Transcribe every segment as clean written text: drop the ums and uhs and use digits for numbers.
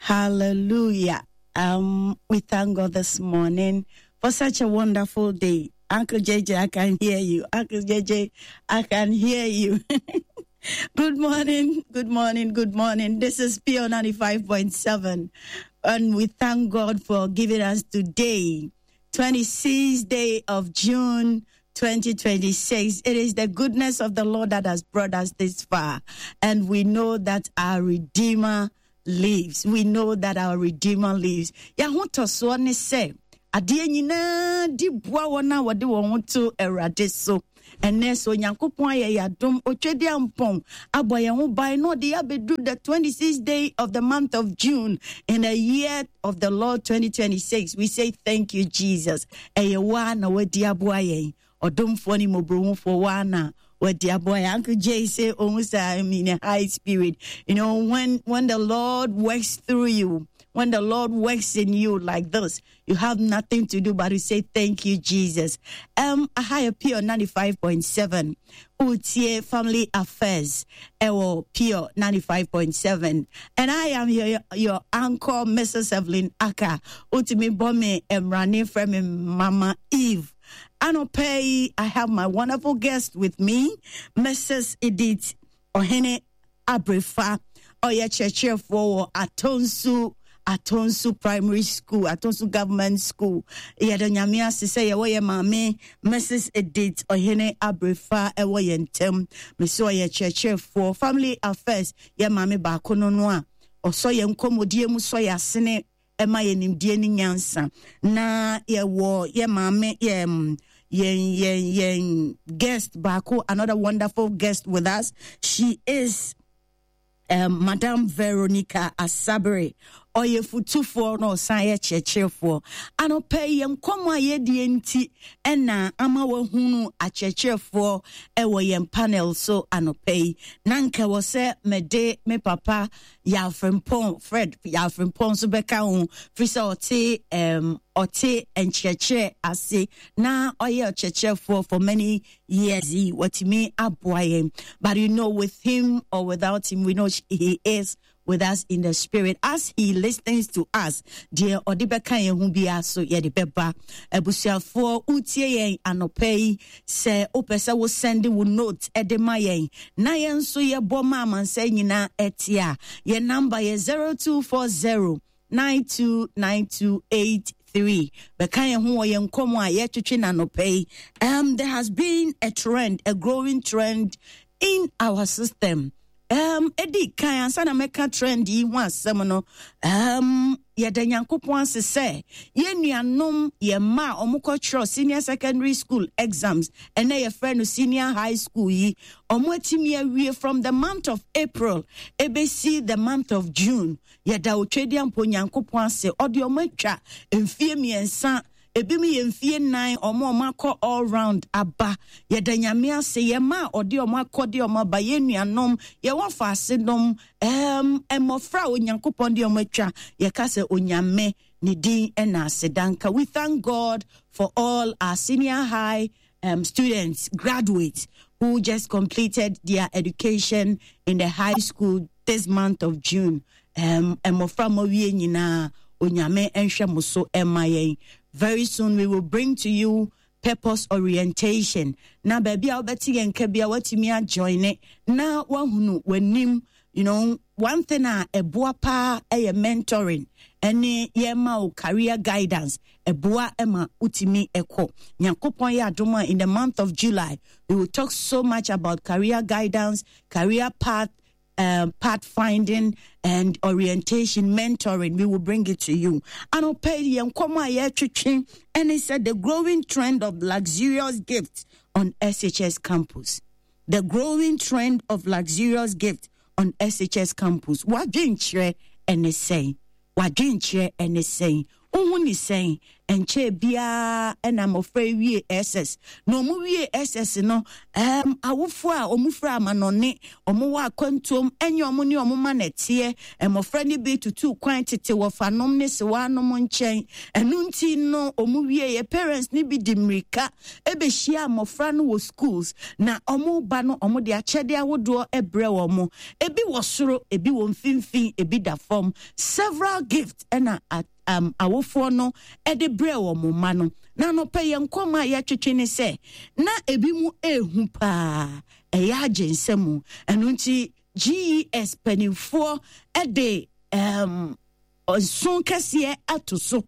Hallelujah. We thank God this morning for such a wonderful day. Uncle JJ, I can hear you. Uncle JJ, I can hear you. Good morning, good morning, good morning. This is Pure 95.7. And we thank God for giving us today, 26th day of June 2026. It is the goodness of the Lord that has brought us this far. And we know that our Redeemer lives. We know that our Redeemer lives. Yɛahotɔsoɔ ne sɛ adeɛ nyinaa di boa wɔn a wɔde wɔn ho to Awurade so. Ɛnɛ sɛ Onyankopɔn ayɛ yɛn adom, Otwedeampɔn abɔ yɛn ho ban na ɔde yɛabɛduru the 26th day of the month of June in the year of the Lord 2026. We say thank you, Jesus. Ɛyɛ wo na wadi aboa yɛn. Ɔdomfoɔ ne mmɔborɔhufoɔ wo na wadi aboa yɛn. Uncle Jay say, oh, I'm in a high spirit. You know, when the Lord works through you, when the Lord works in you like this, you have nothing to do but to say thank you, Jesus. Aha Pure 95.7. Utie Family Affairs. Ewo Pure 95.7. And I am your anchor, Mrs. Evelyn Aka. Utimi Bome Emrani from Mama Eve. Anɔpa, I have my wonderful guest with me, Mrs. Edith Ohene Abrefa. Ɔyɛ kyerɛkyerɛfoɔ wɔ Atonsu Primary School, Atonsu Government School. Yɛda Nyame ase sɛ yɛwɔ yɛ maame Mrs. Edith Ohene Abrefa ɛwɔ yɛn ntam. Mesi ɔyɛ kyerɛkyerɛfoɔ Family Affairs yɛ maame baako no a ɔsɔ yɛn nkɔmmɔdie mu sɔ yɛ asene ɛma yɛ nimdeɛ ne nyansa. Na yɛwɔ yɛ maame yɛ yɛn guest baako, another wonderful guest with us. She is Madam Veronica Asabere. Ɔyɛ futufoɔ na ɔsan yɛ kyerɛkyerɛfoɔ. Anɔpɛ yi yɛn nkɔmmɔ a yɛdie nti ɛna ama wahunu akyerɛkyerɛfoɔ ɛwɔ yɛn panel so anɔpɛ yi. Na nka wɔ sɛ mede me papa Yafrimpɔn, Fred Yafrimpɔn nso bɛka ho, firi sɛ ɔte nkyerɛkyerɛ ase na ɔyɛ ɔkyerɛkyerɛfoɔ for many years yi, watumi aboa yɛn. But you know, with him or without him, we know he is with us in the spirit as he listens to us. Deɛ ɔde bɛka yɛn ho biara so yɛde bɛba. Abusuafoɔ, wotie yɛn anɔpa yi, sɛ wopɛ sɛ wo send wo note ɛde ma yɛn na yɛn nso yɛbɔ ma amansa nyinaa ɛte a, yɛn number yɛ 0240 929283. Bɛka yɛn ho wɔ yɛn nkɔmmɔ a yɛtwetwe n'anɔpa yi. There has been a trend, a growing trend in our system. Edi kan ansa na mɛka trend yi ho asɛm no, yɛda Nyankopɔn ase sɛ yɛn nuanom, yɛn mma a wɔkɔtwerɛ senior secondary school exams, ɛnɛ yɛfrɛ no senior high school yi, wɔn atumi awie from the month of April ebesi the month of June. Yɛda Otwedeampo Nyankopɔn ase, ɔde wɔn atwa mfie 3, ebi mu yɛ mfie 4, ɔmo akɔ all round aba. Yɛda Nyame ase, yɛn mma a ɔde ɔmo akɔ de ɔmo aba, yɛn nuanom, yɛwɔ faase nom, mmɔfra a Onyankopɔn de ɔmo atwa, yɛka sɛ Onyame ne din ɛna asedanka. We thank God for all our senior high students, graduates who just completed their education in the high school this month of June. Mmɔfra mo awie nyinaa, Onyame nhwɛ mo so ɛma yɛn. Very soon we will bring to you purpose orientation. Na baabi a wobɛte yɛn nka bi a watumi ajoine na wahunu w'anim. You know, one thing a ɛboa paa ɛyɛ mentoring ɛne yɛma wo career guidance. Ɛboa ɛma wotumi ɛkɔ. Nyankopɔn yɛ adom a in the month of July we will talk so much about career guidance, career path, pathfinding and orientation, mentoring. We will bring it to you. Anɔpa yi yɛn nkɔmmɔ a yɛretwetwe ɛne sɛ the growing trend of luxurious gifts on SHS campus. The growing trend of luxurious gifts on SHS campus. Wadwenkyerɛ ɛne sɛn? Wadwenkyerɛ ɛne sɛn? Wohu ne sɛn? Ɛnkyɛɛ biara na mmɔfra yi wie SS. Na wɔn wie SS no, um, awofoɔ a wɔn firi amanɔne, wɔn wɔ akwantuom, ɛnyɛ wɔn ne wɔn ma na ɛteɛ. Mmɔfra no bi tutu kwan tete wɔfanom ne sewanom nkyɛn. Ɛno nti no, wɔn wie yɛ parents no bi di mmirika ɛbɛhyia mmɔfra no wɔ schools, na wɔn ba no wɔn de akyɛde ahodoɔ ɛbrɛ wɔn. Ebi wɔ soro, ebi wɔ mfimfini, ebi da fam. Several gifts ɛna um, awofoɔ no de brɛɛ wɔn mma no. Na anɔpɛ yɛn nkɔmmɔ a yɛtwetwe ne sɛ, na ebi mu ehu paa, ɛyɛ agye nsam. Ɛno nti GES mpanimfoɔ de um, nso kɛseɛ ato so.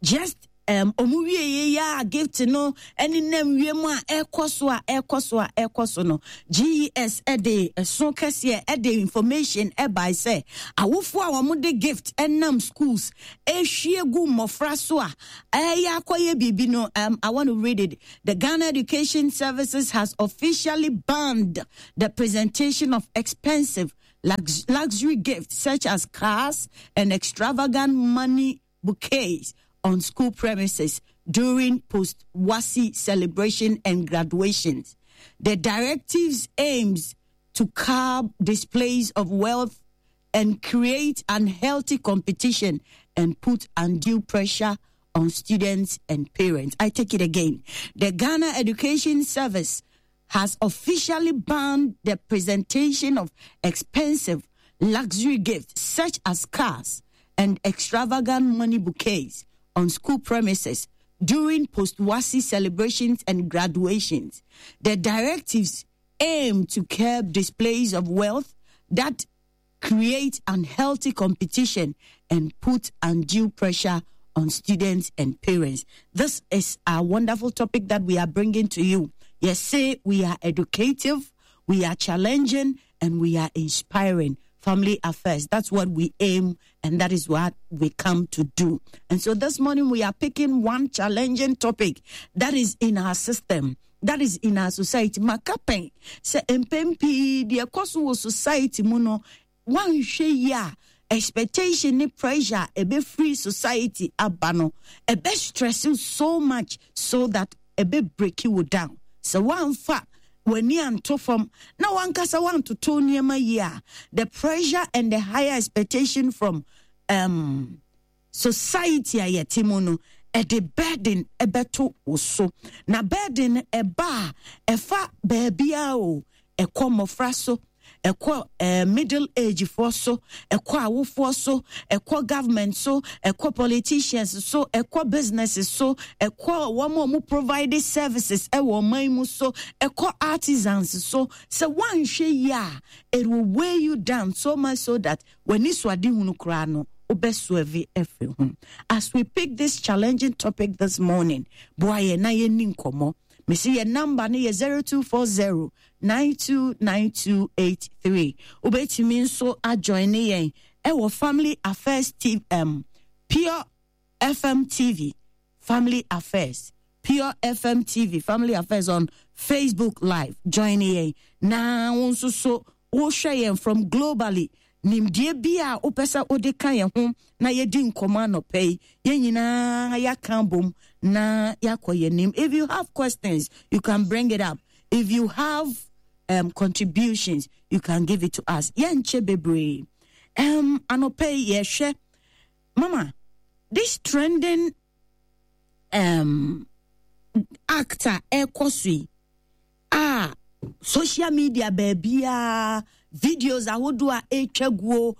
Just um, ɔmo wie yɛ a gift no ɛne nam wiem a ɛkɔ so a ɛkɔ so a ɛkɔ so no, GES ɛde ɛso kɛseɛ ɛde information ɛbae sɛ awofoɔ a wɔn de gift ɛnam schools ɛhwie gu mmɔfra so a ɛyɛ akɔyɛ biribi no. I want to read it. The Ghana Education Services has officially banned the presentation of expensive luxury gifts such as cars and extravagant money bouquets on school premises during post WASSCE celebration and graduations. The directives aims to curb displays of wealth and create unhealthy competition and put undue pressure on students and parents. I take it again. The Ghana Education Service has officially banned the presentation of expensive luxury gifts such as cars and extravagant money bouquets on school premises during post WASSCE celebrations and graduations. The directives aim to curb displays of wealth that create unhealthy competition and put undue pressure on students and parents. This is a wonderful topic that we are bringing to you. Yes, say we are educative, we are challenging, and we are inspiring family affairs. That's what we aim and that is what we come to do. And so this morning we are picking one challenging topic that is in our system, that is in our society. Maka pɛn sɛ mpɛn pii deɛ ɛkɔ so wɔ society mu no, wanhwɛ yi a, expectation ne pressure ɛbɛfiri society aba no, ɛbɛ stress you so much so that ɛbɛ break you down. Sɛ wanfa w'ani anto fam na wankasa wantoto nneɛma yie a, the pressure and the higher expectation from society a yɛte mu no, ɛde burden ɛbɛto wo so. Na burden ɛba a, ɛfa baabiara o. Ɛkɔ mmɔfra so, ɛkɔ middle age foɔ so, ɛkɔ awofoɔ so, ɛkɔ government so, ɛkɔ politicians so, ɛkɔ businesses so, ɛkɔ wɔn a wɔn provide services ɛwɔ ɔman mu so, ɛkɔ artisans so. Sɛ wɔanhwɛ yie a, it will weigh you down so much so that w'ani so ade hunu koraa no, wobɛsoɛve afiri ho. As we pick this challenging topic this morning, boa yɛn na yɛnni nkɔmmɔ. Mesi yɛn number no yɛ 0240 929283. Wobɛtumi nso ajoin ne yɛn ɛwɔ Family Affairs TV, Pure FM TV, Family Affairs, Pure FM TV, Family Affairs on Facebook Live. Join yɛn na wo nso so wohwɛ yɛn from globally. Nimdeɛ bi a wopɛ sɛ wode ka yɛn ho na yɛdi nkɔmmɔ anɔpɛ yi, yɛn nyinaa yɛaka bom na yɛakɔ yɛn anim. If you have questions, you can bring it up. If you have contributions, you can give it to us. Yɛnkyɛ bebree. Anɔpɛ yi yɛhwɛ mama this trending act a ɛkɔ so yi a social media baabiara, videos ahodoɔ a ɛretwa guo,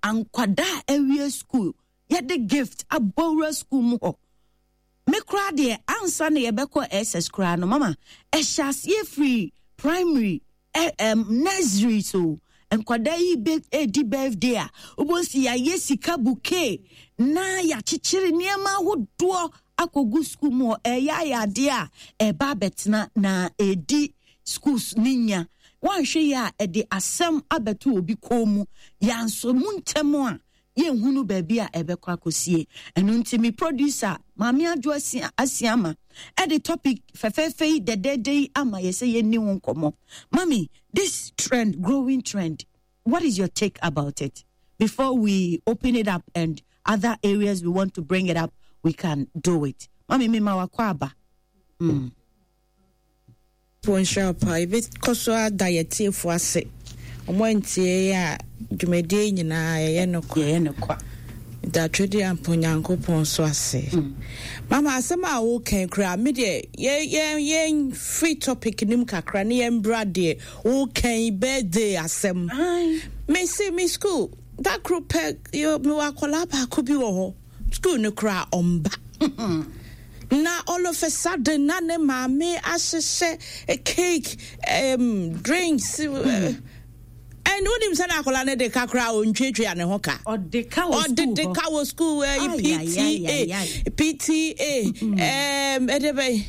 ankwadaa a awie school yɛde gift abɔwura school mu hɔ. Me koraa deɛ, ansa na yɛbɛkɔ SS koraa no, mama ɛhyɛ aseɛ firi primary, nursery. So nkwadaa yi bɛ edi birthday a, wobɛsi yɛayɛ sika bouquet na yɛakyekyere nneɛma ahodoɔ akɔgu school mu hɔ. Ɛyɛ ayɛ adeɛ a ɛba abɛtena na ɛdi schools ne nya. Woanhwɛ yi a, ɛde asɛm abɛto obi kɔn mu. Yɛansɔ mu ntɛm a, yɛnhunu baabi a ɛbɛkɔ akɔsie. Ɛno nti me producer Maame Adwo Asiama ɛde topic fɛfɛɛfɛ yi dɛdɛɛdɛ yi ama yɛ sɛ yɛnni ho nkɔmmɔ. Mami, this trend, growing trend, what is your take about it before we open it up and other areas we want to bring it up, we can do it. Mami mi ma wakɔ aba. Nyankopɔn nhyira wo paa. Yɛbɛkɔ so ada yɛn atiefoɔ ase. Wɔn antie yɛn a, dwumadie yi nyinaa yɛyɛ no kwa. Yɛyɛ no kwa. Da Twedeampo Nyankopɔn so ase. Mama asɛm a woka yi koraa, me deɛ yɛ yɛ yɛn free topic no mu kakra ne yɛn bra deɛ woka yi birthday asɛm. Me se me school da koro pɛ mewɔ akwadaa baako bi wɔ hɔ. School no koraa ɔmba. Na all of a sudden na ne maame ahyehyɛ cake, drinks. And wonim sɛ na akwadaa no de ka koraa ɔntwatwa ne ho ka. Ɔde ka wɔ school Ɔde de ka wɔ school PTA, PTA, ɛde bɛn.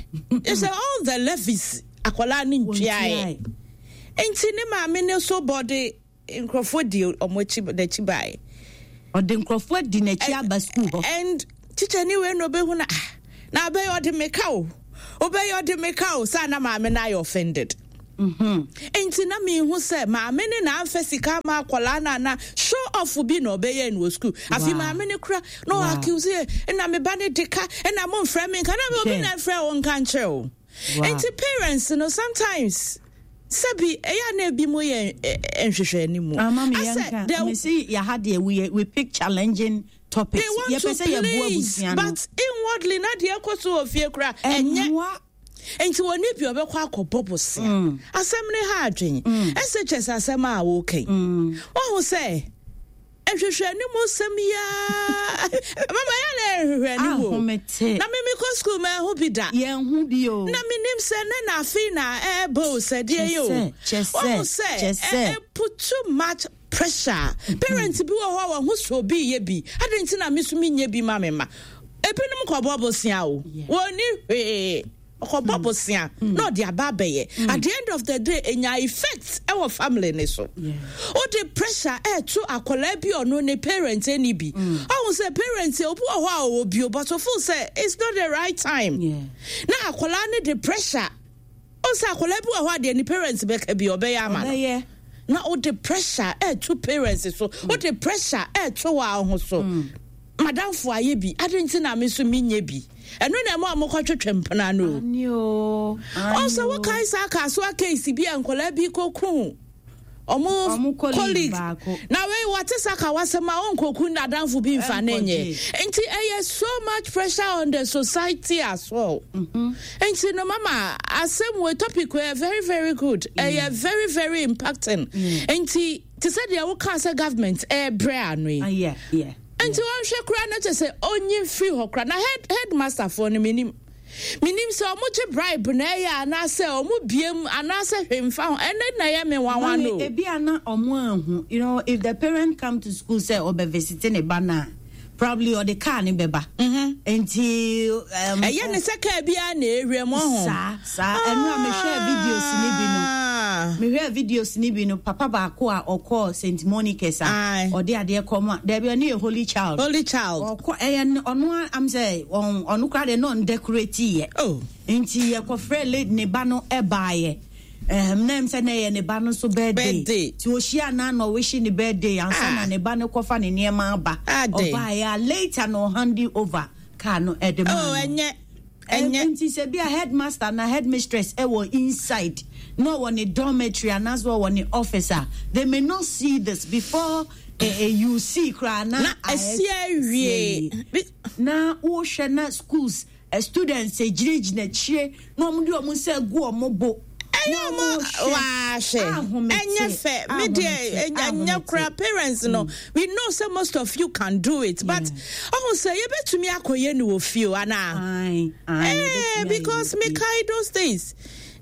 It's all the levies akwadaa no ntwaeɛ. Nti ne maame no so bɔ de Nkurɔfoɔ di wɔn akyi n'akyi baeɛ. Ɔde nkurɔfoɔ adi n'akyi aba sukuu hɔ. And tikyani wei na ɔbɛhu na ah na abɛyɛ ɔde me ka o ɔbɛyɛ ɔde me ka o saa na maame no ayɛ offended. Mm-hmm. Nti na mehu sɛ maame no na amfa sika ama akwadaa no ana show off bi na ɔbɛyɛ no wɔ sukuu. Afei maame no kura na ɔ accuse yɛ ɛna me ba no de ka ɛna mo mfrɛ me nka na obi na mfrɛ wo nka nkyerɛ o. Nti parents no sometimes sɛbi ɛyɛ a na ebi mo yɛ nhwehwɛ ne mu. Ama me yɛn ka me si yaha deɛ we we pick challenging topics. They want to please but inwardly na deɛ ɛkɔ so wɔ fie kora ɛnyɛ. Nti wɔn ni bi ɔbɛkɔ akɔbɔ bosia. Asɛm ne ha adwen. SHS asɛm a wɔkɛn. Wɔn ho sɛ. Nhwehwɛanim nsɛm yi ara mama yɛ na nhwehwɛanim o. Ahomete. Na me mekɔ sukuu ma ɛho bi da. Yɛn ho bi o. Na menim sɛ ne na afei na ɛɛba o sɛ deɛ yi o. Kyɛ sɛ, Wɔn sɛ kyɛ sɛ. ɛ put too much pressure. Parents bi wɔ hɔ a wɔn ho sɛ obi yɛ bi. Adɛn nti na me so menyɛ bi ma me mma? Ebinom kɔbɔ bosea o. Wɔn ni hwee. Ɔkɔbɔ hmm. bosea na ɔde aba abɛyɛ. At the end of the day, enya effect ɛwɔ family ne so. Ɔde pressure ɛɛto akwadaa bi ɔno ne parent ɛni bi. Ɔho sɛ parent obi wɔ hɔ a ɔwɔ bio but ɔfeel sɛ it's not the right time. Na akwadaa ne de pressure. Ɔsɛ akwadaa bi wɔ hɔ a deɛ ne parents bɛka bi ɔbɛyɛ ama no. Na ɔde pressure ɛɛto parents so. Ɔde pressure ɛɛto wɔn ho so. Madamfo ayɛ bi, adɛn nti na me nso menyɛ bi? Ɛno na ɛma wɔkɔtwetwe mpena no o. Ɔsɛ wokae saa Kasoa case bi a nkwadaa bi kɔku ɔmo colleague na wei wɔte sa ka wasɛm a ɔnkɔku n'adamfo bi mfa ne nyɛ nti ɛyɛ so much pressure on the society as well mm-hmm. nti no mama asɛm wei topic wei very very good ɛyɛ very very impacting nti Te sɛ deɛ wokaa sɛ government ɛrebrɛ ano yi. Ah, Nti wɔnhwɛ koraa na kyɛ sɛ ɔnyi mfiri hɔ koraa na head headmaster foɔ no menim menim sɛ ɔmo gye bribe na ɛyɛ anaasɛ ɔmo biem anaasɛ hwee mfa ho ɛnɛ na ɛyɛ me nwanwa no. Ebi a na ɔmo anhu you know if the parent come to school sɛ ɔbɛ visit ne ba na probably ɔde car ne bɛba. Mm-hmm. Nti. Ɛyɛ ne sɛ car biara na ewia mu ɔho. Saa saa ɛno a mehwɛɛ videos ne bi no. Ah. Mehwɛɛ videos ne bi no papa baako a ɔkɔɔ St Monica's a ɔde adeɛ kɔ mu a dɛbi ɔne yɛ Holy Child. Holy Child. Ɔkɔ ɛyɛ ɔno am sɛ ɔno koraa deɛ na ɔndecorate yɛ. Oh. Nti yɛkɔfrɛ lady ne ba no ɛbaayɛ. Ɛhɛm na ɛm sɛ na ɛyɛ ne ba no nso birthday. Birthday. Nti ohyia no a na ɔwihye ne birthday ansa na Ah. ne ba no kɔfa ne nneɛma aba. Adɛn? Ɔbaeɛ a later na ɔhande over car no ɛde maa Oh, no. ɛnyɛ. Ɛm, Ɛnyɛ. nti sɛ bi a headmaster anaa headmistress ɛwɔ inside na ɔwɔ ne dormitory anaasɛ ɔwɔ ne office a, they may not see this before eh, eh, you see koraa na Na ayɛ- asi awie. Bi- Na wohwɛ na schools Students gyinagyina akyire na wɔn de wɔn nsa agu wɔn bo. Ɛyɛ ɔmo waahwɛ ɛnyɛ fɛ me deɛ ɛnyɛ kora parents no we know sɛ most of you can do it but ɔho sɛ yɛbɛtumi akɔyɛ no wɔ fie o anaa eh because me kae those days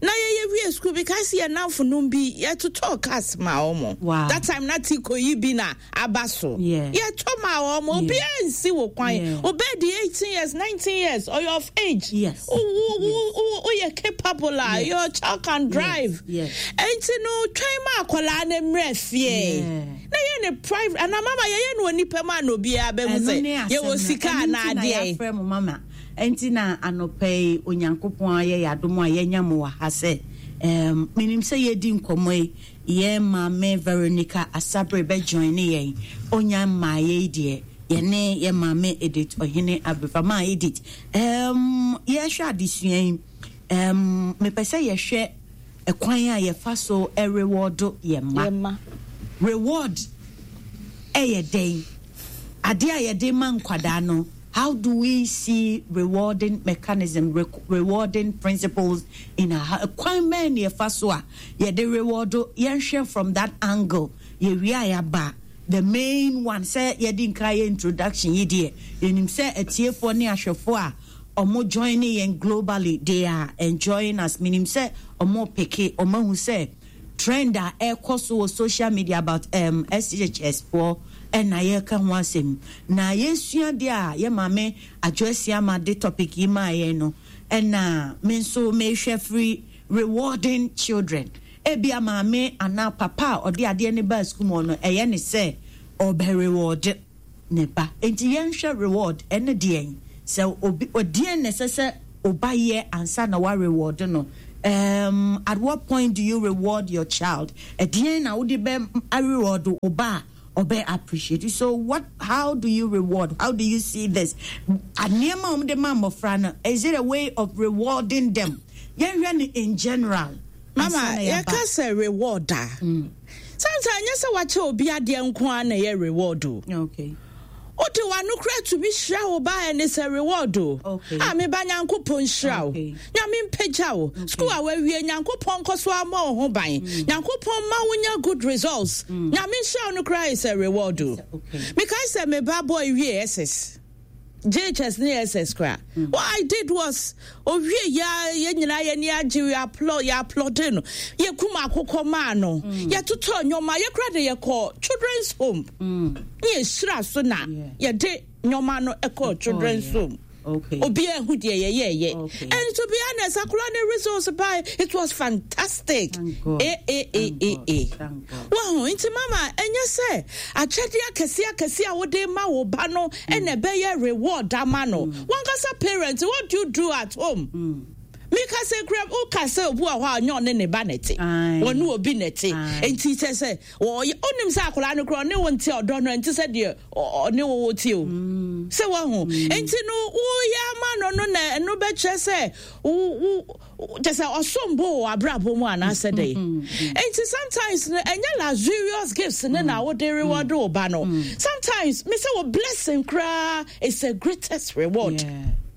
na yɛyɛ wie school bi kae sɛ yɛ namfo nom bi yɛtotɔɔ cars ma ɔmo that time na ti kɔyi bi na aba so. Yɛtɔ ma wɔn, obiara nsi wo kwan. Obɛ di 18 years, 19 years, ɔyɛ of age. Woyɛ capable a, your child can drive. Enti no, twɛn ma akwadaa no mmerɛ fie. Na yɛ ne private, anaa mama yɛyɛ no onipa mu a na obiara bɛhu sɛ yɛwɔ sika anaa adeɛ. Ɛno mama. Ɛnti na anɔpa yi Onyankopɔn ayɛ yɛ adom a yɛanya mo wɔ ha sɛ, menim sɛ yɛdi nkɔmmɔ yi Yɛn maame Veronica Asabere bɛ joine yɛn, ɔnya mmaeɛ yi deɛ. Yɛne yɛ maame Edith Ɔhene Abrefa. Maa Edith, um, yɛhwɛ adesua yi, um, mepɛ sɛ yɛhwɛ ɛkwan a yɛfa so reward yɛn mma. Reward ɛyɛ dɛn? Adeɛ a yɛde ma nkwadaa no, how do we see rewarding mechanism, re rewarding principles in our kwan bɛn na yɛfa so a yɛde reward yɛnhwɛ from that angle yɛwie a yɛaba the main one sɛ yɛde nka yɛ introduction yi deɛ yɛnim sɛ atiefoɔ ne ahwɛfoɔ a ɔmo join yɛn globally they are enjoying us menim sɛ ɔmo peke ɔmo ahu sɛ trend a ɛkɔ so wɔ social media about um, SHS foɔ ɛna yɛka ho asɛm na yɛsua deɛ a yɛ maame Adwoa Asiamah de topic yi maa yɛn no ɛna me nso mehwɛ firi rewarding children ebia maame anaa papa a ɔde adeɛ no baa sukuu mu no ɛyɛ ne sɛ ɔbɛ reward ne ba nti yɛnhwɛ reward ɛne deɛn sɛ obi ɔdeɛn na ɛsɛ sɛ ɔba yɛ ansa na wa reward no um, at what point do you reward your child ɛdeɛn na wode bɛ reward ɔba a ɔbɛ appreciate so what how do you reward how do you see this nneɛma a wɔde ma mmɔfra no is it a way of rewarding them yɛnhwɛ no in general mama yɛka sɛ reward a mm. Sometimes ɛnyɛ sɛ wakyɛ obi adeɛ nko ara na ɛyɛ reward o. Okay. Wode w'ano kora tumi hyira wo ba ɛne sɛ reward o. Okay. A me ba Nyankopɔn nhyira wo. Okay. Nyame mpagya wo. Okay. School a wawie Nyankopɔn nkɔ so ama wo ho ban. Nyankopɔn ma wonya good results. Nyame nhyira wo no koraa is a reward o. Okay. Mekae sɛ me ba boy wie SS. JHS ne SS koraa. Mm. What I did was owie ya yɛn nyinaa yɛn ani agye we applaud yɛ applaud no yɛkum akokɔ maa no mm. yɛtotɔ nneɛma yɛkora de yɛkɔ children's home mm. ne yɛhyira so na yɛde nneɛma no ɛkɔ children's home. Okay. Obi ehu deɛ yɛyɛɛyɛ. Okay. And to be honest, akora ne results by it was fantastic. Thank God. A A A Thank A God. A. Thank God. Wahu nti mama ɛnyɛ sɛ akyɛdeɛ akɛseɛ akɛseɛ a wode ma wo ba no ɛna ɛbɛyɛ reward ama no. Wankasa parent, what do you do at home? Mika sɛ kura woka sɛ obi wɔ hɔ a ɔnyɛ ɔne ne ba na ɛte. Aye. Ɔne obi na ɛte. Aye. Nti kyɛ sɛ ɔyɛ onim sɛ akwadaa no kura ɔne wo nte ɔdɔ no ɛnte sɛ deɛ ɔne wo wo te o. Sɛ wahu. Nti no woyɛ ama no no na ɛno bɛkyerɛ sɛ wo wo kyɛ sɛ ɔsom bo wɔ abrabɔ mu anaasɛ dɛn. Nti sometimes no ɛnyɛ luxurious gifts ne na wode reward wo ba no. Sometimes me sɛ wo blessing koraa is a greatest reward. Yeah.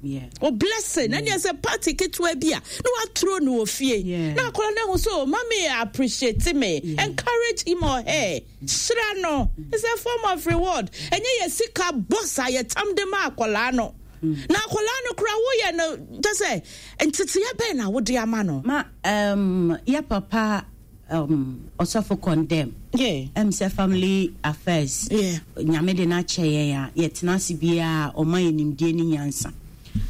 Yeah. O blessing ɛne ɛsɛ party ketewa bi a na waturo no wɔ fie Yeah. na akɔla no ahu sɛ oh, mami appreciate me Yeah. encourage him or her hyira no it's a form of reward ɛnyɛ yɛ sika box a yɛtam de ma akɔlaa no na akɔlaa no kora woyɛ no kyɛ sɛ nteteɛ bɛn na wode ama no Ma um, yɛ papa um, ɔsɔfo condemn. Yeah. Ɛm sɛ family affairs. Yeah. Nyame de no akyɛ yɛn a yɛtena ase biara ɔma yɛ nimdeɛ ne nyansa.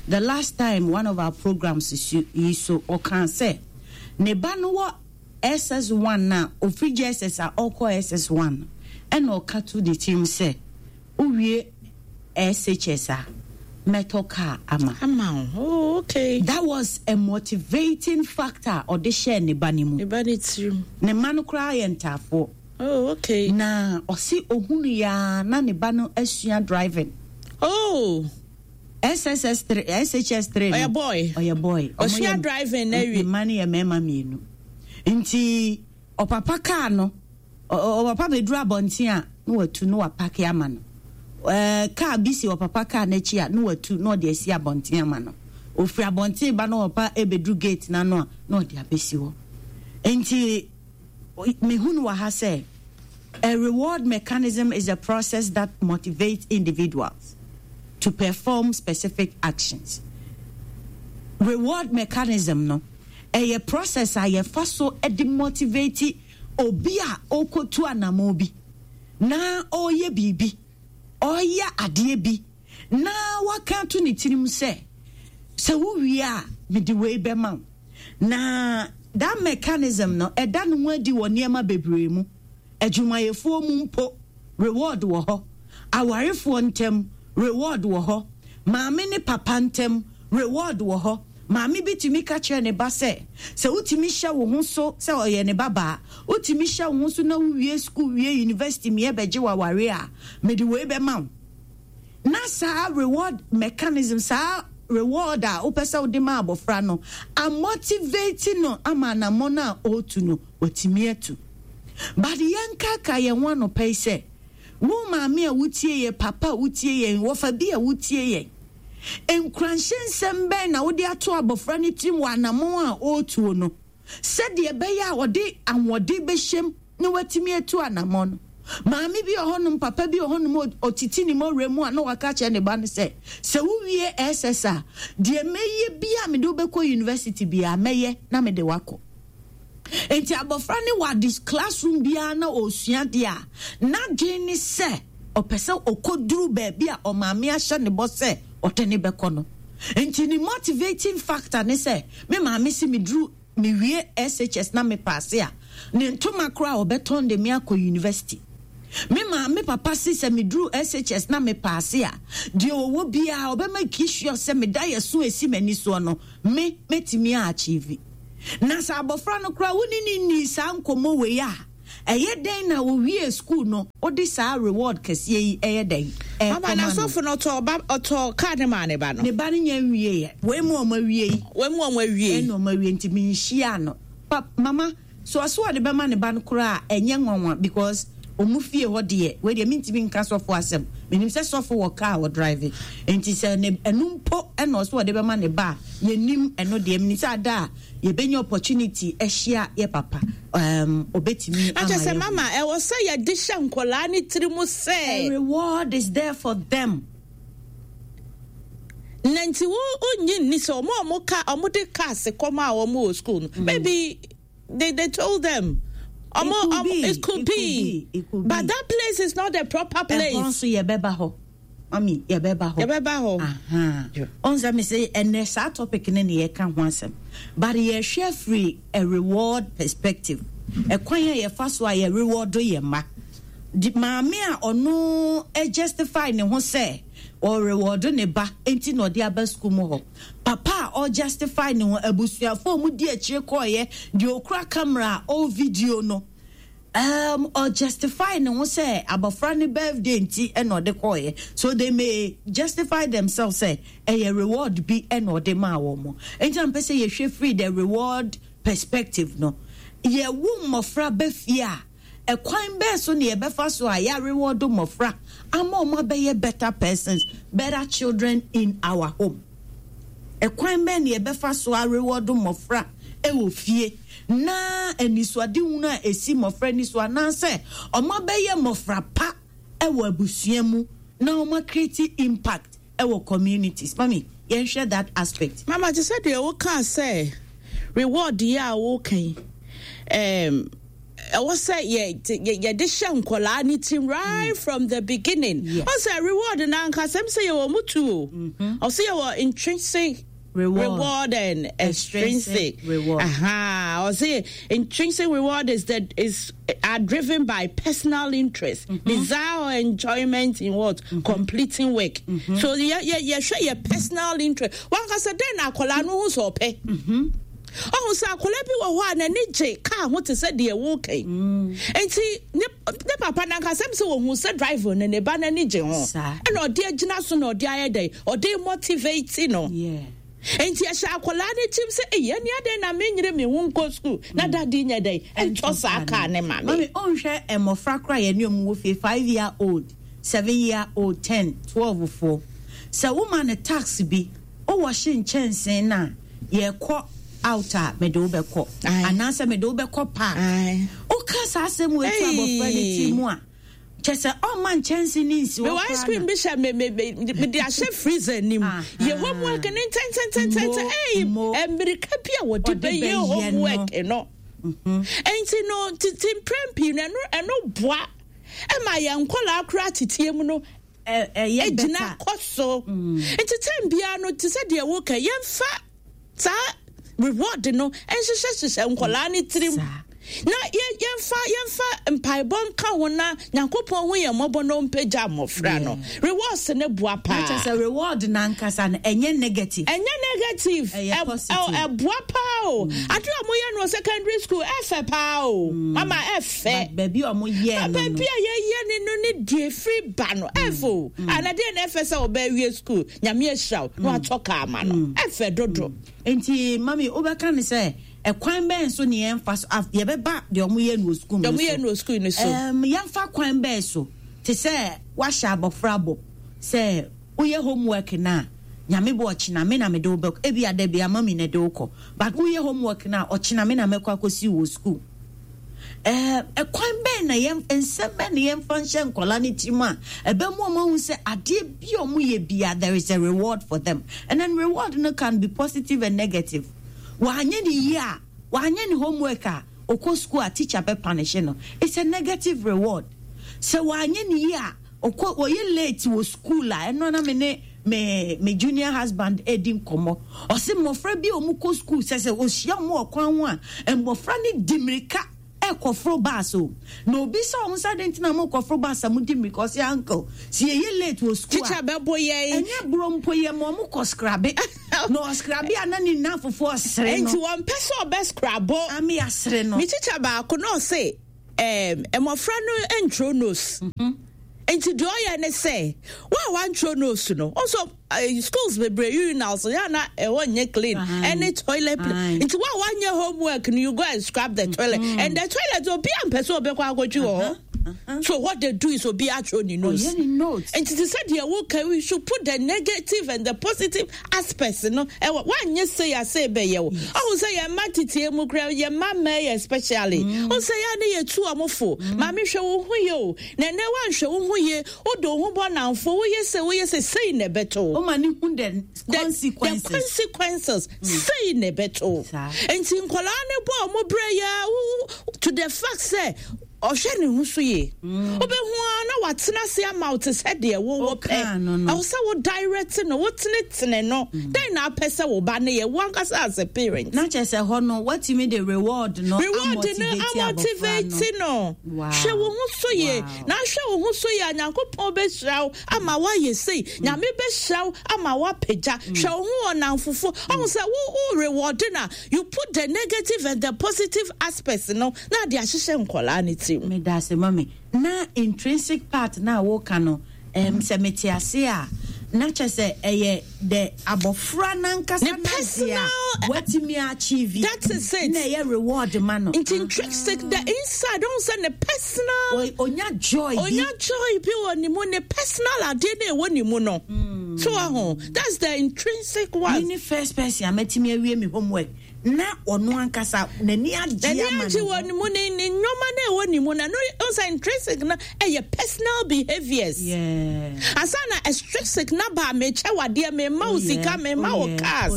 The last time one of our programs so yi so ɔkaa sɛ ne ba no wɔ SS1 na ofiri JSS a ɔkɔ SS1 ɛna ɔka to ne tirim sɛ wowie SHS a mɛtɔ car ama. Ama wo. Oh, okay. That was a motivating factor ɔde hyɛɛ ne ba no mu. Ne ba ne tirim. Ne mma no koraa yɛ ntaafoɔ. Oh, okay. Na ɔse ohunu ya na ne ba no asua driving. Oh. SSS 3 SHS 3 no. Ɔyɛ boy. Ɔyɛ boy. Ɔmo Ɔsua yɛ- driving na awie. Ne mma no yɛ mmarima mmienu. Nti ɔpapa kaa no ɔpapa bɛduru abɔnten a na watu na wapake ama no. Ɛɛ kaa bi si ɔpapa kaa n'akyi a na watu na ɔde asi abɔnten ama no. Ofiri abɔnten ba na ɔpapa ɛbɛduru gate n'ano a na ɔde abɛsi hɔ. Nti mehunu wɔ ha sɛ a reward mechanism is a process that motivates individuals to perform specific actions. Reward mechanism no, ɛyɛ process a yɛfa so de motivate obi a ɔrekɔtu anammɔn bi na ɔreyɛ biribi, ɔreyɛ adeɛ bi na waka ato ne tirim sɛ, sɛ wowie a mede wei bɛma wo. Na that mechanism no, ɛda ne ho adi wɔ nneɛma bebree mu. Adwumayɛfoɔ mu mpo, reward wɔ hɔ. Awarefoɔ ntam, reward wɔ hɔ. Maame ne papa ntam, reward wɔ hɔ. Maame bi tumi ka kyerɛ ne ba sɛ, sɛ wotumi hyɛ wo ho so sɛ ɔyɛ ne babaa, wotumi hyɛ wo ho so na wowie sukuu wie university meɛ bɛgye w'aware a, mede wei bɛma wo. Na saa reward mechanism, saa reward a wopɛ sɛ wode ma abɔfra no, amotivate no ama anammɔn a ɔretu no, watumi atu. But yɛnkaakae yɛn ho anɔpa yi sɛ, wo maame a wotie yɛn, papa a wotie yɛn, wɔfa bi a wotie yɛn, nkuranhyɛ nsɛm bɛn na wode ato abɔfra no tirim wɔ anammɔn a ɔretuo no? Sɛdeɛ ɛbɛyɛ a ɔde ahoɔden bɛhyɛm na watumi atu anammɔn no. Maame bi wɔ hɔnom, papa bi wɔ hɔnom, ɔtete ne mmɔwerɛ mu a na waka akyerɛ ne ba no sɛ, sɛ wowie SS a, deɛ mɛyɛ biara a mede wo bɛkɔ university biara mɛyɛ na mede wo akɔ. Enti abɔfra no wɔ ade classroom biara na ɔresua adeɛ a, n'adwene ne sɛ ɔpɛ sɛ ɔkɔduru baabi a ɔmaame ahyɛ ne bɔ sɛ ɔde ne bɛkɔ no. Enti ne motivating factor ne sɛ, me maame se meduru mewie SHS na me paase a, ne ntoma koraa ɔbɛtɔn de me akɔ university. Me maame papa se sɛ meduru SHS na me paase a, deɛ ɔwɔ biara ɔbɛma sure sɛ me daeɛso a ɛsi m'ani soɔ no, me mɛtumi a achieve. Na sɛ abɔfra no koraa wo ne no nnii saa nkɔmmɔ wei a, ɛyɛ dɛn na ɔwiee sukuu no wode saa reward kɛseɛ yi ɛyɛ dɛn Mama ɛrekɔma no? n'asɔfo no ɔtɔɔ ba ɔtɔɔ kaa no maa ne ba no. Ne ba no nya nwieɛ. Wei mu a wɔawie yi. Wei mu a wɔawie yi. Ɛna wɔawie nti menhyiaa no. Pa mama so ɔse ɔde bɛma ne ba no koraa a ɛnyɛ nwanwa because ɔmo fie hɔ deɛ wei deɛ mentumi nka sɔfo asɛm. Menim sɛ sɔfo wɔ kaa a ɔdrive nti sɛ ne ɛno mpo ɛna ɔse ɔde bɛma ne ba a yɛnnim ɛno deɛ. Menim sɛ ada a yɛbɛnya opportunity ahyia yɛ papa um, ɔbɛtumi ama Akyɛ sɛ yɛahu. mama ɛwɔ sɛ yɛde hyɛ nkɔlaa ne tiri mu sɛ. A reward is there for them. Na nti wo wonnye nni sɛ ɔmo a ɔmo ka ɔmo de cars kɔm a ɔmo wɔ school no maybe they told them ɔmo It could ɔmo be, it could it could be be, it could but be. that place is not the proper place. Ɛhɔ nso yɛbɛba hɔ. Mami, yɛbɛba hɔ. Yɛbɛba hɔ. Aha. Ɔn sɛ me sɛ ɛnɛ saa topic ne ne yɛka ho asɛm. But yɛhwɛ firi a reward perspective. Ɛkwan a yɛfa so a yɛ reward yɛ mma. Di maame a ɔno justify ne ho sɛ ɔreward ne ba nti na ɔde aba sukuu mu hɔ. Papa a ɔjustify ne ho, abusuafo a wɔdi akyire kɔɔeɛ, deɛ ɔkura camera a ɔrevideo no, um, ɔjustify ne ho sɛ abɔfra ne birthday nti ɛna ɔde kɔɔeɛ. So they may justify themselves sɛ ɛyɛ reward bi ɛna ɔde maa wɔn. Nti na mpɛ sɛ yɛhwɛ firi the reward perspective no. Yɛwo mmɔfra ba fie a, ɛkwan bɛɛ so na yɛbɛfa so a yɛareward mmɔfra ama wɔn abɛyɛ better persons, better children in our home? Ɛkwan bɛn na yɛbɛfa so areward mmɔfra wɔ fie na anisoadehunu a ɛsi mmɔfra ani so anaasɛ wɔn abɛyɛ mmɔfra pa wɔ abusua mu na wɔn acreate impact wɔ communities? Mami, yɛnhwɛ that aspect. Mama, te sɛ deɛ wokaa sɛ reward yi a woka yi, um, ɛwɔ sɛ yɛ yɛde hyɛ nkɔlaa ne tirim right mm. from the beginning. Yes. Ɔsɛ reward na ankasa m sɛ yɛwɔ mu tu o. Mm-hmm. Ɔsɛ yɛwɔ intrinsic reward, reward and extrinsic, extrinsic reward. Aha. Ɔsɛ intrinsic reward is that is are driven by personal interest, mm-hmm. desire or enjoyment in what mm-hmm. completing work. Mm-hmm. So yeah, yeah, yeah, sure, your personal interest. Wankasa den akɔlaa no ho sɛ ɔpɛ. Mm-hmm. Ɔhu sɛ akwadaa bi wɔ hɔ a n'ani gye kaa ho te sɛ deɛ woreka yi. Mm. Nti ne ne papa n'ankasa sɛ wɔhu sɛ driver no ne ba n'ani gye ho. Ɛna ɔde agyina so na ɔde ayɛ dɛn ɔde motivate no. Nti ɛhyɛ akwadaa no tirim sɛ eyi ɛni adɛn na menyere me ho nkɔ sukuu na mm. dade nyɛ dɛn ɛntɔ saa kaa ne ma me. Mami ɔnhwɛ mmɔfra koraa yɛne ɔmo wɔ fie 5 year old 7 year old 10 12 foɔ sɛ woma no tax bi. Wo wɔhye nkyɛnsee no a, yɛkɔ out a, mede wo bɛkɔ. Anaasɛ mede wo bɛkɔ park. Woka saa asɛm wei to abɔfra no ti mu a, kyɛ sɛ ɔmma nkyɛnse no nsi hɔ koraa. Mewɔ ice cream bi hyɛ me me me mede ahyɛ freezer nim. Yɛ homework ne ntɛntɛntɛntɛntɛ. Ɛyi mmirika bi a wɔde bɛyɛ homework no. Nti no tete mprɛn pii no ɛno ɛno boa ɛma yɛn nkɔlaa koraa teteɛ mu no ɛyɛ gyina better. kɔ so. Nti time biara no te sɛ deɛ woka yɛmfa saa reward no nhyehyɛhyehyɛ nkwadaa no tirim. Saa. Na yɛ yɛmfa yɛmfa mpaebɔ nka ho na Nyankopɔn hu yɛn mmɔbɔ na ɔmpagya mmɔfra no. Rewards no boa paa. Na kyerɛ sɛ reward no ankasa no ɛnyɛ negative. Ɛnyɛ negative. Ɛyɛ positive. Ɛboa paa o. Ade a wɔyɛ no wɔ secondary school ɛfɛ paa o. Mama ɛfɛ. But baabi a wɔyɛ no no. Baabi a yɛyɛ ne no ne deɛ efiri ba no ɛfɛ o. Ana deɛ na ɛfɛ sɛ ɔbɛ awie school Nyame ahyira wo na watɔ kaa ama no. Ɛfɛ dodo. Nti mami wobɛka ne sɛ ɛkwan bɛn so ne yɛmfa so yɛbɛba deɛ ɔmo yɛ no wɔ sukuu no so. Deɛ ɔmo yɛ no wɔ sukuu no so. Yɛmfa kwan bɛn so te sɛ wahyɛ abɔfra bɔ sɛ woyɛ homework no a Nyame bɔ ɔkyena me na mede wo bɛkɔ ebi a dabi a mami na ɛde wo kɔ but woyɛ homework no a ɔkyena me na mɛkɔ akɔsi wo wɔ sukuu. Ɛkwan bɛn na yɛn nsɛm bɛn na yɛmfa nhyɛ nkwadaa no tirim a ɛbɛma wɔn ahu sɛ adeɛ bi a wɔyɛ bia there is a reward for them, and then reward no can be positive and negative. Wanyɛ ne yie a, wanyɛ ne homework a, ɔkɔ school a teacher bɛ punish no. It's a negative reward. Sɛ wanyɛ ne yie a, ɔkɔ ɔyɛ late wɔ school a, ɛno na me ne me me junior husband edi nkɔmmɔ. Ɔse mmɔfra bi a wɔn kɔ school sɛ sɛ ɔhyia wɔn wɔ kwan ho a, mmɔfra no di mmirika ɛkɔforo bus o. Na obi sɛ wɔn sɛ adɛn nti na mokɔforo bus a modi mmirika, ɔse uncle, sɛ yɛyɛ late wɔ school a, Teacher bɛbo yɛn. Ɛnyɛ boro mpo yɛ ma wɔn kɔ skrabe. Na ɔskrabe a na ne nnamfofoɔ ɔsere no. Nti wɔmpɛ sɛ ɔbɛskrabo. Ame asere no. Me teacher baako na ɔse ɛɛm mmɔfra no ntwerɛ notes. Nti deɛ ɔyɛ ne sɛ, wo a wantwerɛ notes no, ɔnso schools bebree urinals yɛ na ɛhɔ nyɛ clean, ɛne toilet play. Nti wo a wanyɛ homework no, you go and scrub the toilet. And the toilet obi ampɛ sɛ ɔbɛkɔ akɔtwi wɔ hɔ. So what they do is obi atwerɛ ne notes. Ɔyɛ ne notes. Nti te sɛ deɛ woka, we should put the negative and the positive aspects no ɛwɔ wanyɛ sei a sei bɛyɛ wo. Ɔhu sɛ yɛn mma teteɛ mu koraa, yɛn mma mmaa yi especially. Ɔhu sɛ yɛn a ne yɛtu wɔn fo. Maame hwɛ wo ho yie o. Na ɛnɛ woanhwɛ wo ho yie, wode wo ho bɔ nnamfo, woyɛ sei, woyɛ sei, sei na ɛbɛto wo. Woma ne hu the consequences. The consequences, sei na ɛbɛto wo. Nti nkwadaa no bɔ wɔn brɛ yɛ to the fact sɛ ɔhwɛ ne ho so yie. Wobɛhu ara na watena ase ama wo te sɛ deɛ wowɔ pɛ. Ɛwɔ sɛ wo direct no, wotenetene no. Dɛn na apɛ sɛ wo ba no yɛ, wo ankasa as a parent? Na kyerɛ sɛ hɔ no, watumi de reward no Reward no amotivate no. Hwɛ wo ho so yie. Na ahwɛ wo ho so yie a, Nyankopɔn bɛhyira wo ama woayɛ sei. Nyame bɛhyira wo ama woapagya. Hwɛ wo ho wɔ nnamfofo. Ɔhu sɛ wo wo reward no a, you put the negative and the positive aspects no na ade ahyehyɛ nkwadaa no tirim. Medase mummy. Na intrinsic part no a woka no ɛɛm sɛ mete ase a na kyerɛ sɛ ɛyɛ the abɔfra nankasa Ne n'adeɛ a personal watumi achieve That is it. na ɛyɛ reward ma no. Nti intrinsic the inside ɔhu sɛ ne personal Onya joy bi. Onya joy bi wɔ ne mu, ne personal adeɛ no ɛwɔ ne mu no. So wahu, that's the intrinsic one. Me ne first person a matumi awie me homework na ɔno ankasa n'ani agye ama n'ani agye wɔ ne mu ne ne nneɛma na ɛwɔ ne mu na no ɔsɛ intrinsic no ɛyɛ personal behaviours. Ansa na extrinsic na ba mekyɛ wadeɛ mema wo sika mema wo cars.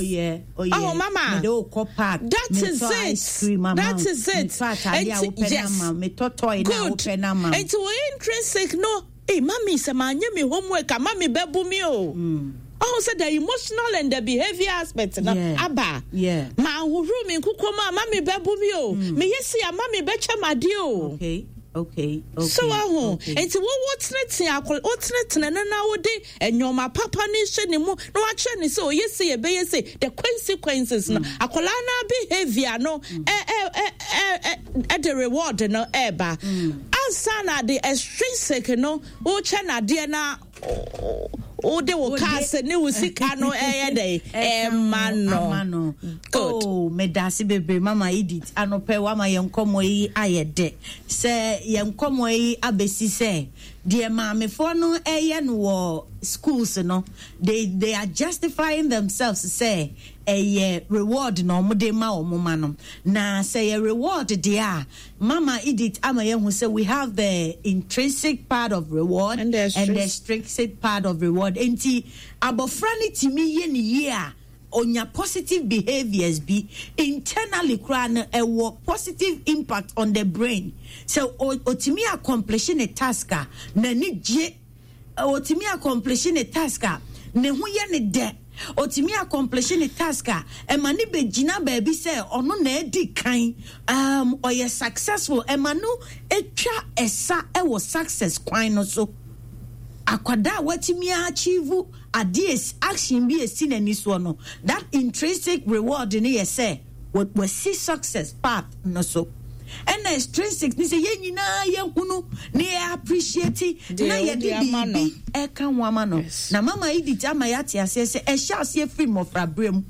Oh mama, mede wo kɔ park. That is it. That is it. Metɔ ataade a wopɛ na ama. Metɔ toy na wopɛ na ama. Nti wɔ intrinsic no. Ei mummy sɛ manyɛ me homework a mummy bɛbo me o. Ɔho sɛ the emotional and the behavior aspect no aba. Manhohoro me nkokɔ mu a mummy bɛbo me o. Meyɛ sei a mummy bɛkyɛ me adeɛ o. Okay. Okay. Okay. So waho. Okay. Nti wo wo tenetene akɔ wo tenetene no na wode nneɛma papa no hyɛ ne mu na wakyerɛ ne sɛ ɔyɛ sei ɛbɛyɛ sei the consequences no akwadaa no behavior no ɛ ɛ ɛ ɛ ɛ de reward no ɛɛba. Ansa na de extrinsic no wokyɛ no adeɛ na wode wo cars ne wo sika no ɛyɛ dɛ ɛma no. Good. Oh, medase bebree mama Edith anɔpɛ wama yɛn nkɔmmɔ yi ayɛ dɛ. Sɛ yɛn nkɔmmɔ yi abɛsi sɛ deɛ maamefoɔ no ɛyɛ no wɔ schools no, they are justifying themselves sɛ ɛyɛ reward na wɔde ma wɔn ma no. Na sɛ yɛ reward deɛ a, Mama Edith ama yɛahu sɛ we have the intrinsic part of reward and the extrinsic part of reward. Enti abɔfra no tumi yɛ ne yie a, onya positive behaviours bi. Internally koraa no, ɛwɔ positive impact on the brain. Sɛ otumi accomplish ne task a, n'ani gye. Otumi accomplish ne task a, ne ho yɛ ne dɛ. Ɔtumi accomplish ne task a, ɛma no bɛgyina baabi sɛ ɔno na adi kan, ɔyɛ successful, ɛma no twa ɛsa wɔ success kwan no so. Akwadaa a watumi achieve adeɛ, action bi a ɛsi n'ani soɔ no, that intrinsic reward no yɛ sɛ wasi success path no so. Ɛna extrinsic ne sɛ yɛn nyinaa yɛhunu na yɛ appreciate na yɛde biribi ɛka ho ama no. Na mama Edith ama yɛate aseɛ sɛ ɛhyɛ aseɛ firi mmɔfraberɛ mu.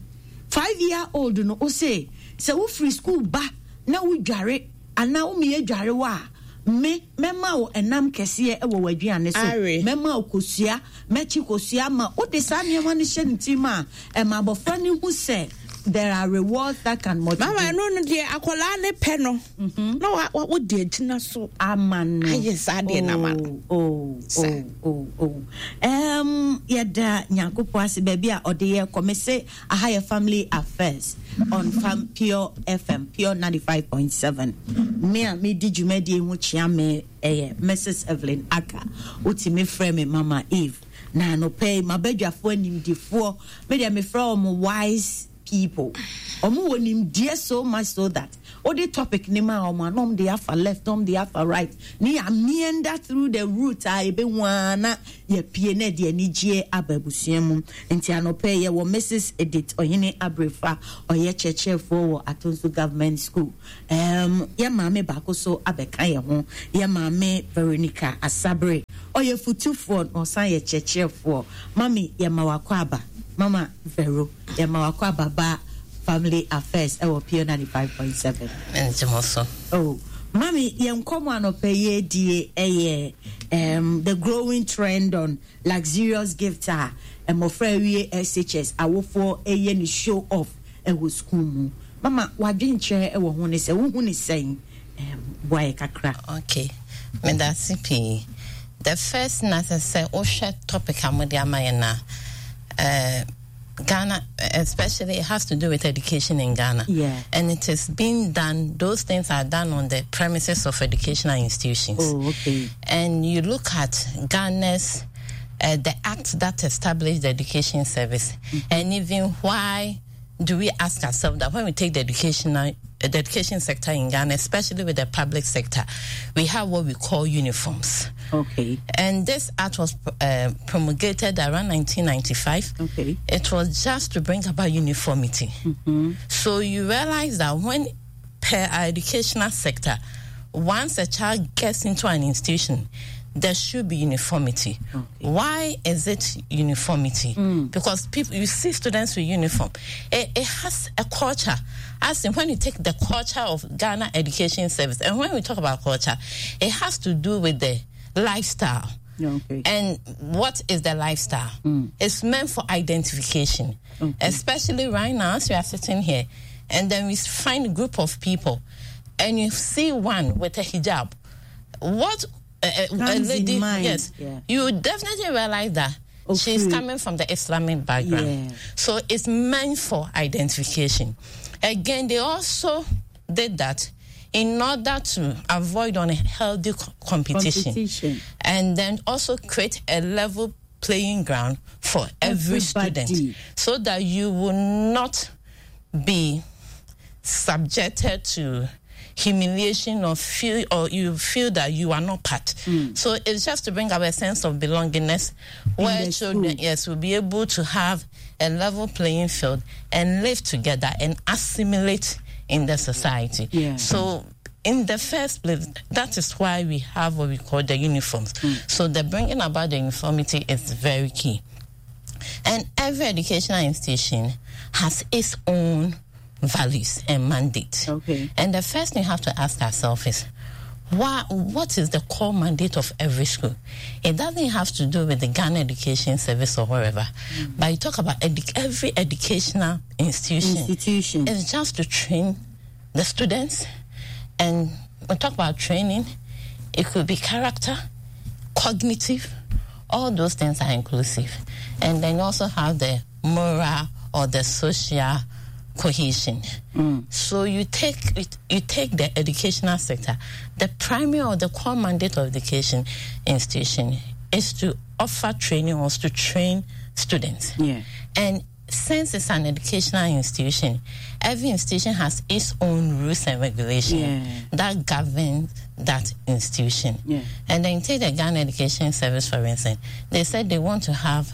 5 year old no, wo se sɛ wofiri school ba na wodware anaa womeyɛ dware wɔ a, me mɛma wo ɛnam kɛseɛ wɔ w'aduane so, mɛma wo kosua, mɛkye kosua ma wode saa nneɛma no hyɛ ne tirim a, ɛma abɔfra no hu sɛ there are rewards that can motivate. Mama, ɛno no deɛ akwadaa ne pɛ no na wa wa wode agyina so ama no ayɛ saa deɛ na ama no. Oh. Yɛda Nyankopɔn ase baabi a ɔde yɛ kɔ. Me se aha yɛ Family Affairs on Fam Pure FM, Pure 95.7. Me a medi dwumadie ho kyea me ɛyɛ Mrs. Evelyn Aka. Wotumi frɛ me Mama Eve. Na anɔpa yi mabadwafoɔ animdifoɔ, me deɛ mefrɛ wɔn wise people. Wɔn wɔ nimdeɛ so much so that wode topic ne ma wɔn a, na wɔn de afa left, na wɔn de afa right, ne yɛ meander through the route a yɛbɛhu ara na yɛpie na ɛde anigyeɛ aba abusua mu. Nti anɔpa yi yɛwɔ Mrs. Edith Ɔhene Abrefa, ɔyɛ kyerɛkyerɛfoɔ wɔ Atonsu Government School. Yɛ maame baako so abɛka yɛn ho, yɛ maame Veronica Asabere, ɔyɛ futufoɔ na ɔsan yɛ kyerɛkyerɛfoɔ. Mami, yɛma wakɔ aba. Mama Vero, yɛma wakɔ aba ba Family Affairs ɛwɔ Pure 95.7. Nti mo so. Oh, mami, yɛn nkɔmɔ anɔpa yi edie ɛyɛ the growing trend on luxurious gift a mmɔfra awie SHS awofoɔ ɛyɛ ne show off ɛwɔ school mu. Mama, wadwenkyerɛ ɛwɔ ho ne sɛ wohu ne sɛn? Boa yɛ kakra. Okay, medase pii. The first na sɛ wohwɛ topic a mode ama yɛn na Ghana, especially, it has to do with education in Ghana. And it is being done, those things are done on the premises of educational institutions. Oh, okay. And you look at Ghana's, the act that established the education service, and even why do we ask ourselves that when we take the education sector in Ghana, especially with the public sector, we have what we call uniforms. And this act was promulgated around 1995. It was just to bring about uniformity. So you realize that when per our educational sector, once a child gets into an institution, there should be uniformity. Why is it uniformity? Because people, you see students with uniform. It has a culture. As in when you take the culture of Ghana Education Service, and when we talk about culture, it has to do with the lifestyle. And what is the lifestyle? It's meant for identification. Especially right now, as we are sitting here, and then we find a group of people, and you see one with a hijab. What a Comes in lady, mind. yes, you definitely realize that she's coming from the Islamic background. So it's meant for identification. Again, they also did that in order to avoid unhealthy competition. Competition. And then also create a level playing ground for every Everybody. student, so that you will not be subjected to humiliation or feel, or you feel that you are not part. So it's just to bring up a sense of belongingness, In where the children, school. yes, will be able to have a level playing field and live together and assimilate in the society. So in the first place, that is why we have what we call the uniforms. So the bringing about the uniformity is very key. And every educational institution has its own values and mandate. And the first thing you have to ask ourselves is, what is the core mandate of every school? It doesn't have to do with the Ghana Education Service or wherever. But you talk about every educational institution. Institution. It's just to train the students. And we talk about training, it could be character, cognitive, all those things are inclusive. And then you also have the moral or the social cohesion. So you take the educational sector. The primary or the core mandate of education institution is to offer training or to train students. And Since it's an educational institution, every institution has its own rules and regulations that govern that institution. Yeah. And then take the Ghana Education Service, for instance. They said they want to have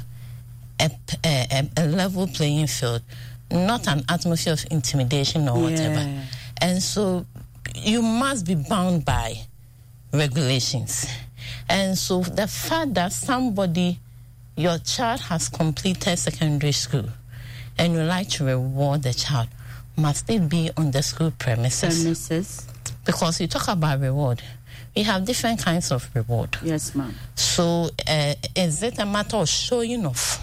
a level playing field, not an atmosphere of intimidation or whatever. Yeah. And so you must be bound by regulations. And so the fact that somebody, your child has completed secondary school, and you like to reward the child, must it be on the school premises? Premises. Because you talk about reward. We have different kinds of reward. Yes, ma'am. So is it a matter of showing off?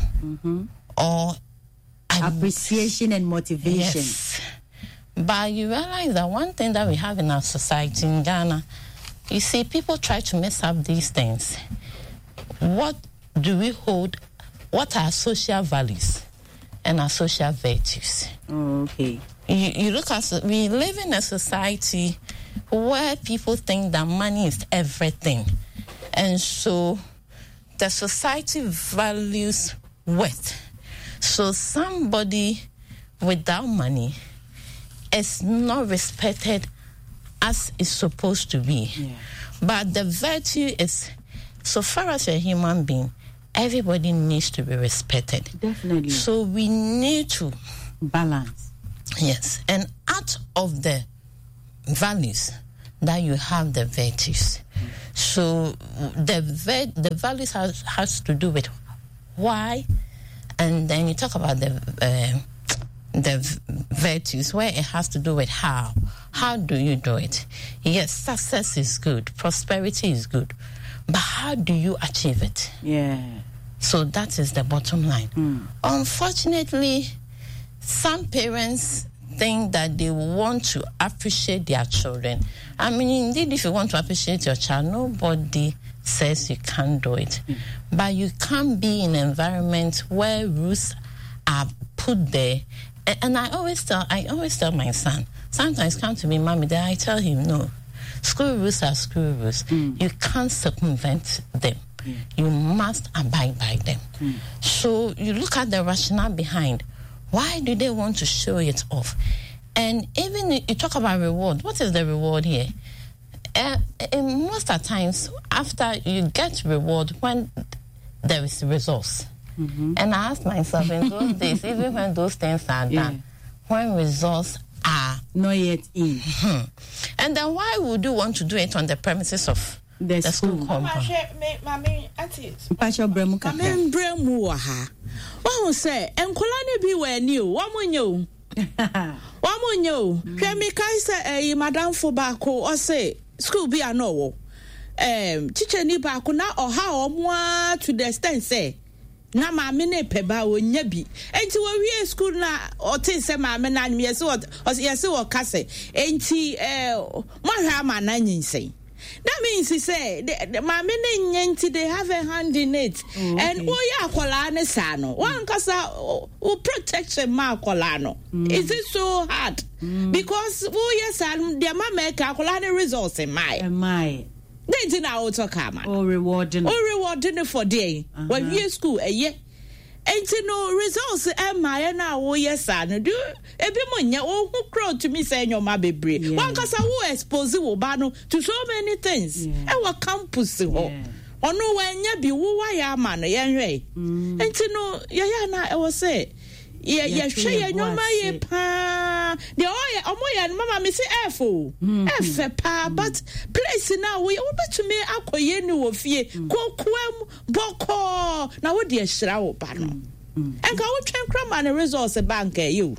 Or appreciation and motivation? Yes. But you realize that one thing that we have in our society in Ghana, people try to mess up these things. What do we hold? What are social values and our social virtues? Oh, okay. We live in a society where people think that money is everything. And so the society values wealth. So somebody without money is not respected as it's supposed to be. But the virtue is, so far as you're a human being, everybody needs to be respected. Definitely. So we need to balance. Yes. And out of the values that you have the virtues. So the values has to do with why, and then you talk about the virtues where it has to do with how. How do you do it? Yes, success is good, prosperity is good, but how do you achieve it? So that is the bottom line. Unfortunately, some parents think that they want to appreciate their children. Indeed, if you want to appreciate your child, nobody says you can't do it. But you can't be in an environment where rules are put there. And I always tell my son, sometimes come to me, mommy, then I tell him, no, school rules are school rules. You can't circumvent them. You must abide by them. So you look at the rationale behind. Why do they want to show it off? And even you talk about reward. What is the reward here? In most of the times, after you get reward when there is resource. And I ask myself, in those days, even when those things are done, when results are not yet in. And then why would you want to do it on the premises of The the school school. compound? Mama, auntie, Mpacho bremu kakra. Mama, bremu wa ha. Wa hu se, enkola ne bi wa ni o, wa mo nye o. Wa mo nye o. Hwe mi kai se, yi madam fo ba ko, o se, school bi a no wo. Teacher ni ba ko na oha o mo a to the extent se, na maame ne pe ba o nya bi. Enti wo wie school na o te se maame na anyim, yesi wo, o se, yesi wo ka se. Enti, mo hwa ama na nyinsen. That means he say the maame ne nye nti they have a hand in it. Oh, okay. And wo ya akola ne sa no. Wan kasa o protection ma akola no. Is it so hard? Because wo yes and the mama ka akola ne results in my. Am I? Then ti na o talk ama. O rewarding. O rewarding for day. When we school a year. Enti no results e ma ye na wo yes no do ebi mo nya wo hu crowd to me say nyoma bebre. Wan kasa wo expose wo ba no to so many things. E wo campus ho. Ono wa nya bi wo wa ya ama no ye hwe. Enti no ye ya na e wo say ye Ye ye twe hwe ye ye bo nyoma ye ase. pa. De o ye omo ye no mama me say F o. F pa but place na wo ye wo betumi akoye ni wo fie. Kokoam boko na wo de hira wo ba no. Enka wo twen kra ma ne resource bank e you.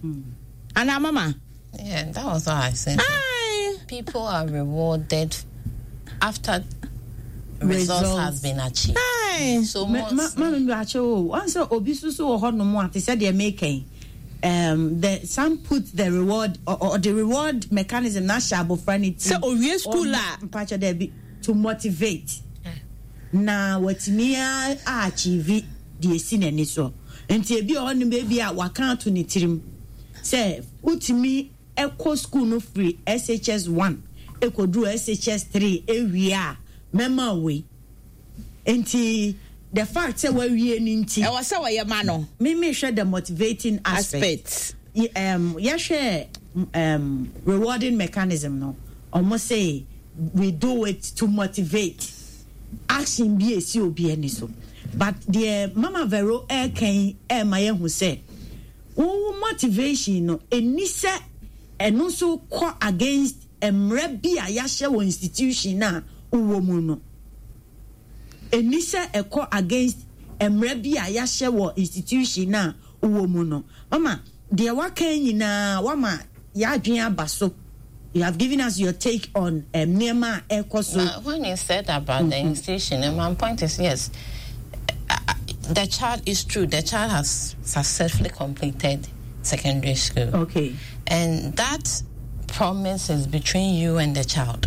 Ana mama. Yeah, that was what I said. Aye. People are rewarded after results Results. has been achieved. Aye. So most Ma, ma, cho, once obi susu wo ho no mo ate said they making. The some put the reward or the reward mechanism na sha abofra ni ti. So owie school Or a mpacho there be to motivate. Na watimi a achieve the esi n'ani so. Nti ebi o no baby a waka to ne tirim. Say utimi ekɔ school no free SHS 1 ekoduru SHS 3 ewie a mema we. Nti The fact sɛ wawie no nti. Ɛwɔ sɛ wɔyɛ ma no. Me mehwɛ the motivating aspect. Aspect. Yɛhwɛ rewarding mechanism no, ɔmo se we do it to motivate action bi esi obi ani so. But deɛ Mama Vero ɛreka yi ɛrema yɛhu sɛ wo motivation no ɛni sɛ ɛno nso kɔ against mmerɛ bi a yɛahyɛ wɔ institution a wowɔ mu no. Ɛnni sɛ ɛkɔ against mmara bi a yɛahyɛ wɔ institution no a wowɔ mu no. Mama, deɛ woaka yi nyinaa, woama yɛadwene aba so. You have given us your take on nneɛma a ɛrekɔ so. Now, when you said about the institution, and my point is yes, the child is true. The child has successfully completed secondary school. Okay. And that promise is between you and the child.